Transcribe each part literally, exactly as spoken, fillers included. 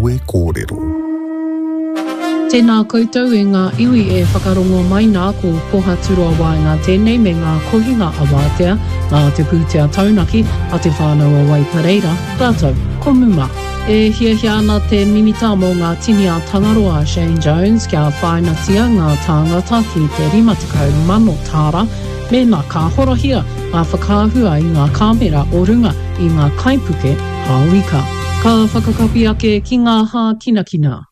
Kawe Kōrero. Tēnā koutou e ngā iwi e whakarongo mai nā ko Pohaturoa Waenga tēnei me ngā kohinga awātea, nā te pūtea taunaki a Te Whānau o Waipareira, rātou ko Muma. E hiahia ana te Minita mō ngā Tini a Tangaroa a Shane Jones kia whāinatia ngā tāngata ki te rima tekau mano tāra mēnā ka horahia ngā whakaahua i ngā kāmera o runga i ngā kaipuke hao ika. Ka whakakapi ake ki ngā hākinakina.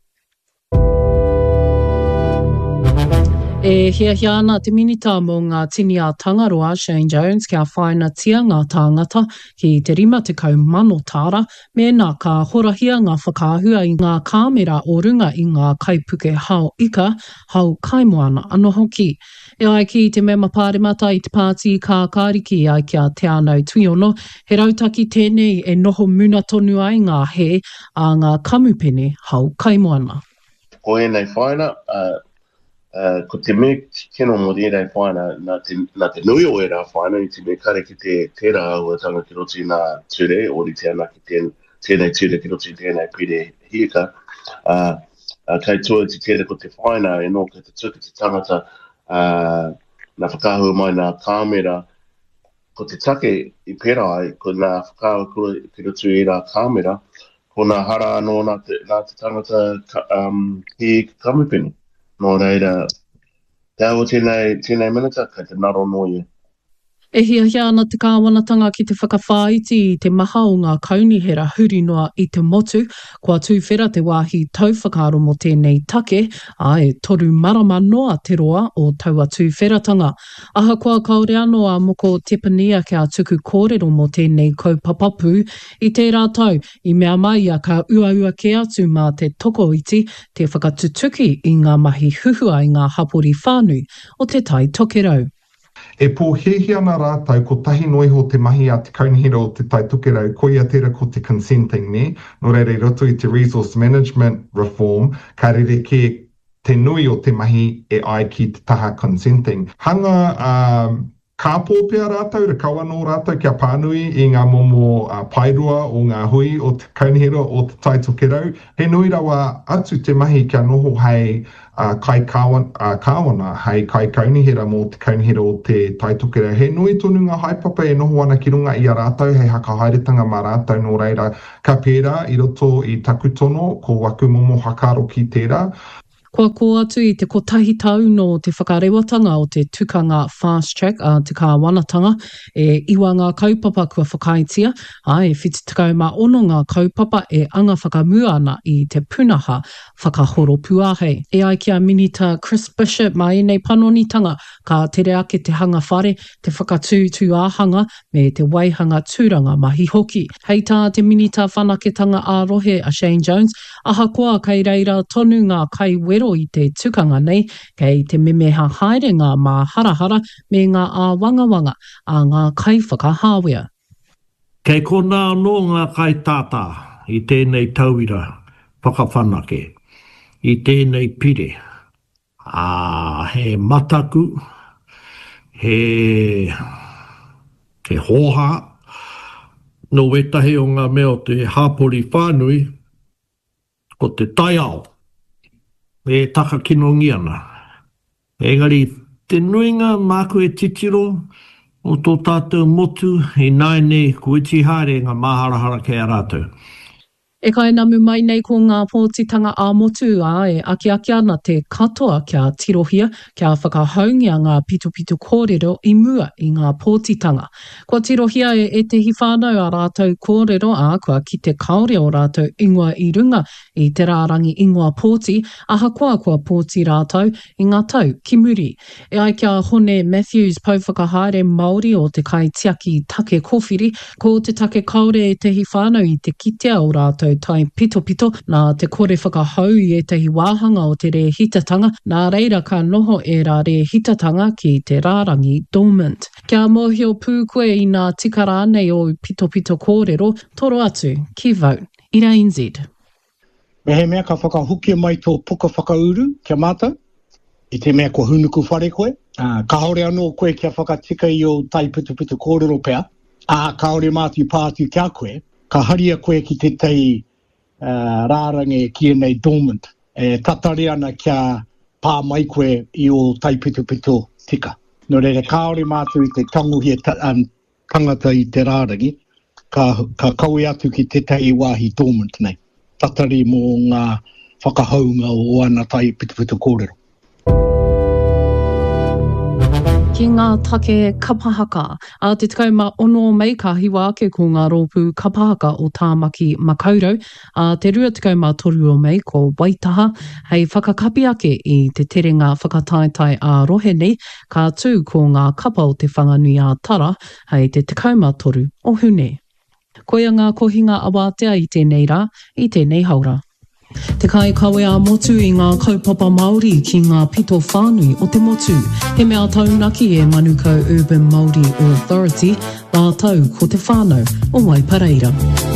E hiahia ana te Minita mō ngā Tini a Tangaroa, Shane Jones, kia whāinatia ngā tāngata ki te rima tekau mano tāra mēnā ka horahia ngā whakaahua i ngā kāmera o runga i ngā kaipuke hao ika, hao kaimoana anō hoki. E ai ki te mema pāremata i te Pāti Kākāriki ai ki a Te Anau Tuiono, he rautaki tēnei e noho muna tonu ai ngā hē a ngā kamupene hao kaimoana. Ko ēnei whāina, ko te mea kino mō ēnei whāina, nā te, nā te nui o ērā whāina i te mea kare ki te tērā āhuatanga ki roto i ngā ture, ōrite ana ki tēn, tēnei ture ki roto i tēnei pire hiika, ā, kei tua i te tērā ko te whāina e nō kei te tuku te tangata, ā, nā whakaahua mai nā kāmera, ko te take i pērā ai, ko nā whakaahua ki roto i ērā kāmera, ko nā hara anō nā te, nā te tangata ka, um, ki kamupene. Nō reira, te aho tēnei, tēnei minita, kei te ngaro nō ia. E hiahia ana te kāwanatanga ki te whakawhāiti i te maha o ngā kaunihera huri noa i te motu. Kua tuwhera te wāhi tauwhakaaro mō tēnei take, ā, e toru marama noa te roa o taua tuwheratanga. Ahakoa kāore anō a Moko Tepania kia tuku kōrero mō tēnei kaupapa pū, i tērā tau, i mea mai ia ka uaua kē atu mā te tokoiti te whakatutuki i ngā mahi huhua i ngā hapori whānui o Te Tai Tokerau. E pōhēhē ana rātou kotahi noa iho te mahi a te Kaunihera o Te Tai Tokerau, koia tērā ko te consenting, nē? Nō reira i roto i te resource management reform, ka rerekē te nui o te mahi e ai ki te taha consenting. Hanga kāpō pea rātou, rakau anō rātou kia pānui i ngā momo paerua o ngā hui o te Kaunihera o Te Tai Tokerau. He nui rawa atu te mahi kia noho hei kaikāwana, hei kaikaunihera mō te Kaunihera o Te Tai Tokerau. He nui tonu ngā haepapa e noho ana ki runga i a rātou hei hakahaeretanga mā rātou, nō reira, ka pērā i roto i taku tono, ko waku momo whakaaro ki tērā. Kua kō atu i te kotahi tau nō te whakarewatanga o te tukanga Fast Track a te kāwanatanga, e iwa ngā kaupapa kua whakaaetia, ā, e whitu tekau mā ono ngā kaupapa e anga whakamua ana i te pūnaha whakahoropuāhei. E ai ki a Minita Chris Bishop, mā ēnei panonitanga ka tere ake te hanga whare, te whakatū tūāhanga me te waihanga tūranga mahi hoki. Hei tā te Minita Whanaketanga ā-Rohe a Shane Jones, ahakoa kei reira tonu ngā kaiwero i te tukanga nei, kei te memeha haere ngā māharahara me ngā āwangawanga a ngā kaiwhakahāwea. Kei konā anō ngā kaitātā i tēnei tauira whakawhanake, i tēnei pire. Ā, he mataku, he, he hōhā nō wētahi o ngā mea o te hāpori whānui, ko te taiao e takakinongia ana. Engari, te nuinga māku e titiro o tō tātou motu ināianei kua iti haere ngā māharahara kei a rātou. E kainamu mai nei ko ngā pōtitanga ā-motu, ā, e akiaki ana te katoa kia tirohia, kia whakahaungia ngā pitopito kōrero i mua i ngā pōtitanga. Kua tirohia e ētehi whānau ā rātou kōrero, ā, kua kite kāore ō rātou ingoa i runga i te rārangi ingoa pōti, ahakoa kua pōti rātou i ngā tau ki muri. E ai ki a Hone Matthews, Pouwhakahaere Māori o te Kaitiaki Take Kōwhiri, ko te take kāore ētahi whānau i te kitea ō rātou taipitopito nā te kore whakahou i ētahi wāhanga o te rēhitatanga, nā reira ka noho ērā rēhitatanga ki te rārangi dormant. Kia mōhio pū koe inā tika rānei ōu pitopito kōrero, toro atu ki Vote Ira N Z. Mehemea ka whakahokia mai tō puka whakauru ki a mātou, i te mea kua hūnuku whare koe, ā, kāore anō koe kia whakatika i ō taipitopito kōrero pea, ā, kāore mātou i pā atu ki a koe, ka haria koe ki tētahi rārangi e kīia nei dormant, e tatari ana kia pā mai koe i ō taipitopito tika. Nō reira, kāore mātou i te tangohia tangata i te rārangi, ka, ka kawe atu ki tētahi wāhi dormant nei, tatari mō ngā whakahounga o ana taipitopito kōrero. Ki ngā take kapa haka. Ā te tekau mā ono o Mei ka hiwa ake ko ngā rōpū kapa haka o Tāmaki Makaurau, ā te rua tekau mā toru o Mei ko Waitaha hei whakakapi ake i te terenga whakataetae ā-rohe nei, ka tū ko ngā kapa o Te Whanganui-ā-Tara hei te tekau mā toru o Hune. Koia ngā kohinga awātea i tēnei rā, i tēnei haora. Te kaikawe ā-motu i ngā kaupapa Māori ki ngā pito whānui o te motu. He mea taunaki e Manukau Urban Māori Authority rātou ko te whānau o Waipareira.